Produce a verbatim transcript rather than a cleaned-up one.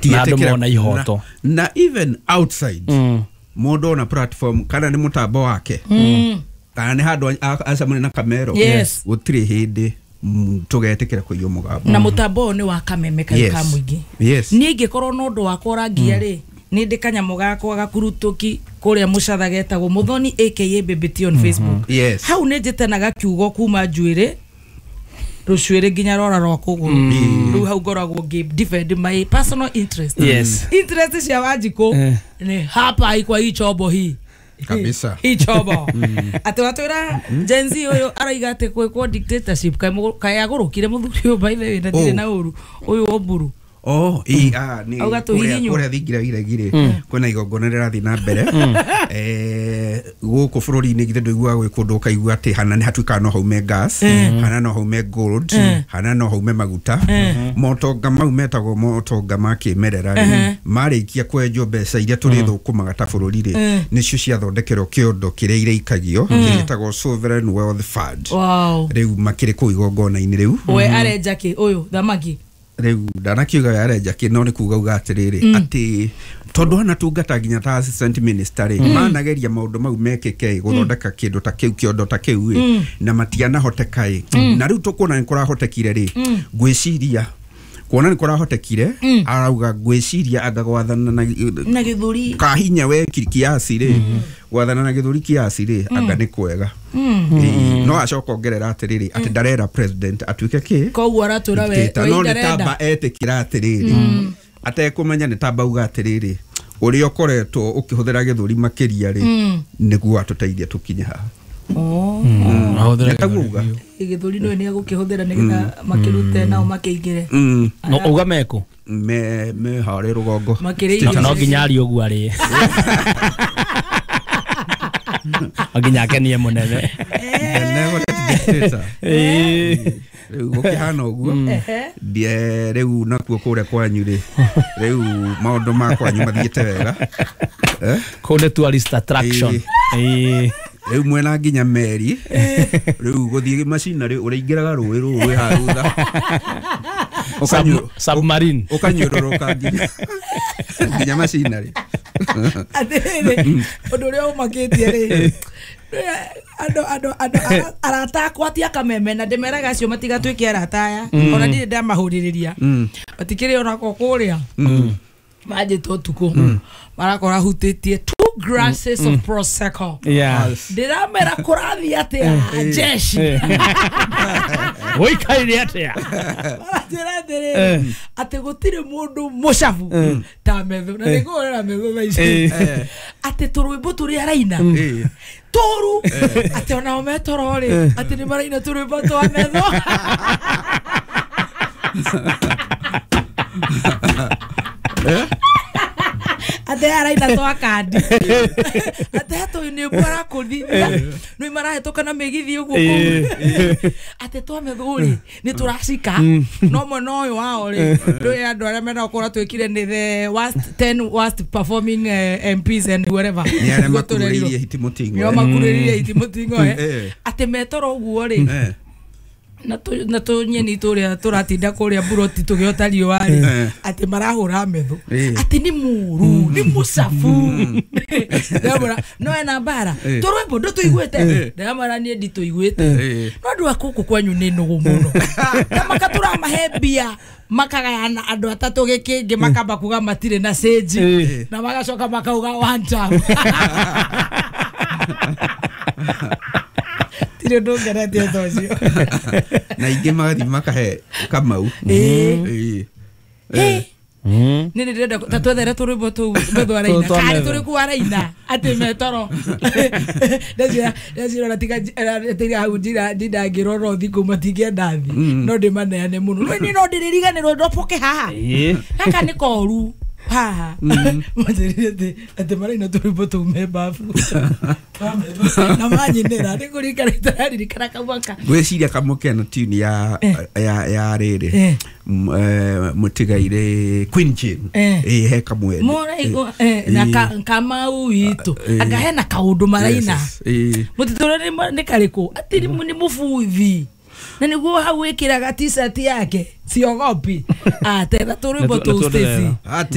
Na andũ mona ihoto. Na even outside mũndũ ona platform kana nĩ mũtambo wake kana nĩ handũ acemania na kamero gũtirĩ hĩndĩ tũgetĩkĩra kũiywo mũgambo. Na mũtambo ũyũ nĩ wa kameme kaĩ ka mũingĩ. Niĩ ingĩkorwo na ũndũ wakwa ũrangia rĩ, nĩ ndĩ kanyamũ gakwa gakurutuki kũrĩa mũcatha getagwo Muthoni aka Baby T on Facebook. Hau nĩ njĩtanaga kiugo kuma njuĩrĩ rũcuĩrĩ nginya rora rwa kũgũrũ. Rĩu hau ngoragwo ngĩ defend my personal interest. Interest cia Wanjikũ nĩ hapa kwa hii chombo hii kabisa. Hii chombo. Atĩ watwĩra Gen Z ũyũ araiga atĩ gwĩkwo dictatorship kaĩ agũrũkire mũthuri ũyũ by the way na ndirĩ na ũru ũyũ Oburu. Oh, ii ah ni kuria thingira iregire kwina igongona rĩrathiĩ na mbere eh gũkũ bũrũri-inĩ githĩ ndũiguaga gwĩ kũndũ ũkaigua atĩ hana nĩ hatuĩkaga no haume gas, hana no haume gold, hana no haume maguta. Motonga mau metagwo motonga ma kĩmerera rĩ, marĩkia kwenjwo mbeca iria tũrĩthũkũmaga ta bũrũri rĩ, nĩcio ciathondekerwo kĩondo kĩrĩa ireikagio gĩtagwo Sovereign Wealth Fund. Rĩu makĩrĩ kũu igongona-inĩ rĩu. We arenja kĩ ũyũ thamaki? Rĩu ndanakiuga we arenja kĩ no nĩ kuga uga atĩrĩrĩ atĩ tondũ anatungata nginya ta assistant minister rĩ, manageria maũndũ mau mekĩke gũthondeka kĩndũ ta kĩu kĩondo ta kĩu ĩ na matianahoteka ĩ. Na rĩu tũkuona nĩ kũrahotekire rĩ, ngwĩciria kuona nĩ kũrahotekire arauga ngwĩciria anga gwathana na na gĩthũri kahinya we kiasi rĩ, gwathana na gĩthũri kiasi rĩ anga nĩ kwega. No acoka ongerera atĩrĩrĩ atĩ ndarera president atuĩke kĩ koguo aratwĩra we no nĩ tamba etĩkĩra atĩrĩrĩ atekũmenya nĩ tamba uga atĩrĩrĩ ũrĩa ũkoretwo ũkĩhũthĩra gĩthũri makĩria rĩ nĩguo atũteithie tũkinye haha. Oh, nĩtaguo gĩthũri no nĩ agũkĩhũthĩra nĩgetha makĩrute nao makĩingĩre. No uga mekũ me me harĩ rũgongo no nginya arie ũguo arĩe nginya akenie mũnene. Rĩu gũkĩhana ũguo rĩu nakuo kũrĩa kwanyu rĩ, rĩu maũndũ ma kwanyu mathiĩte wega. Kũu nĩ tourist attraction. Rĩu mwena nginya meri rĩu gũthiĩ macinarĩ ũrĩingĩraga rũĩ rũu rwĩ haha thutha submarine ũkanyũrũrũka nginya nginya macinarĩ. Atĩrĩrĩ ũndũ ũrĩa ũmakĩtie rĩ, andũ andũ andũ arata akwa ti akameme na ndĩmeraga acio matigatuĩke arata aya ona ndirĩ ndamahũrĩrĩria matikĩrĩ onako kũrĩa manjĩtwo ũtukũ marakora hutĩtie two glasses of prosecco. Ndĩramera kũrathiĩ atĩa jeshi ũikaire atĩa maranjĩra atĩrĩrĩ atĩ gũtirĩ mũndũ mũcabu ta metho na nĩngũhũrĩra metho thaa ici atĩ tũrwĩmbo tũrĩa araina tũru atĩ onao metoro rĩ atĩ nĩ maraina tũrwĩmbo twa metho. Atĩ araina twa kandi atĩ hatũ nĩ arakũthithia nĩ marahĩtũka na mĩgithi ũguo kũu atĩ twa metho rĩ nĩ tũracika no mwena ũyũ wao rĩ ndũĩ andũ arĩa mena ũkũra twĩkire nĩ the worst ten worst performing M Ps and whoever nĩ arĩa makurĩrĩirie hiti mũting'oe nĩo makurĩrĩirie hiti mũting'oe atĩ metoro ũguo rĩ na tũnyeni tũrĩa tũratinda kũrĩa buroti tũgĩota riũa rĩ atĩ marahũra metho atĩ nĩ mũru nĩ mũcabu ndamwĩra no ena mbara tũrwĩmbo ndũtũiguĩte ndamwĩra niĩ nditũiguĩte no andũ a gũkũ kwanyu nĩ nũgũ mũno ta makatũramahe mbia makagayana andũ atatũ gĩkĩngĩ makamba kuga matirĩ na cĩnji na magacoka makauga one time. Tirĩ ũndũ ngeretie ta ũcio. Na ingĩ magathiĩ makahe Kamau. Ĩĩ. Nĩ nĩ ndĩrenda ta twethere tũrwĩmbo tũu metho araina karĩ tũrĩkũ araina atĩ metoro ndeciria ndeciria ona tiga tiga hau njira ndindangĩrora thikũ matingĩenda thi no ndĩmaneane mũno no niĩ no ndĩrĩriganĩrwo ndoboke haha gaka nĩ koru haha manjĩrire atĩ atĩ maraina tũrwĩmbo tũu me babu na manyinĩra nĩ kũririkana itararirikana kamwaka ngwĩciria kamwe kena tune ya ya ya rĩrĩ mũtigaire Queen Jane ĩĩ he kamwe mũraigua na Kamau witũ anga hena kaũndũ maraina mũtitũrĩ nĩ karĩkũ atĩ nĩ mũbuthi Na nĩguo hau wĩkĩraga t-shirt yake siogopi atetha tũrwĩmbo Nĩtu- tũu nĩtuo Stacy. ndĩrera. Atĩ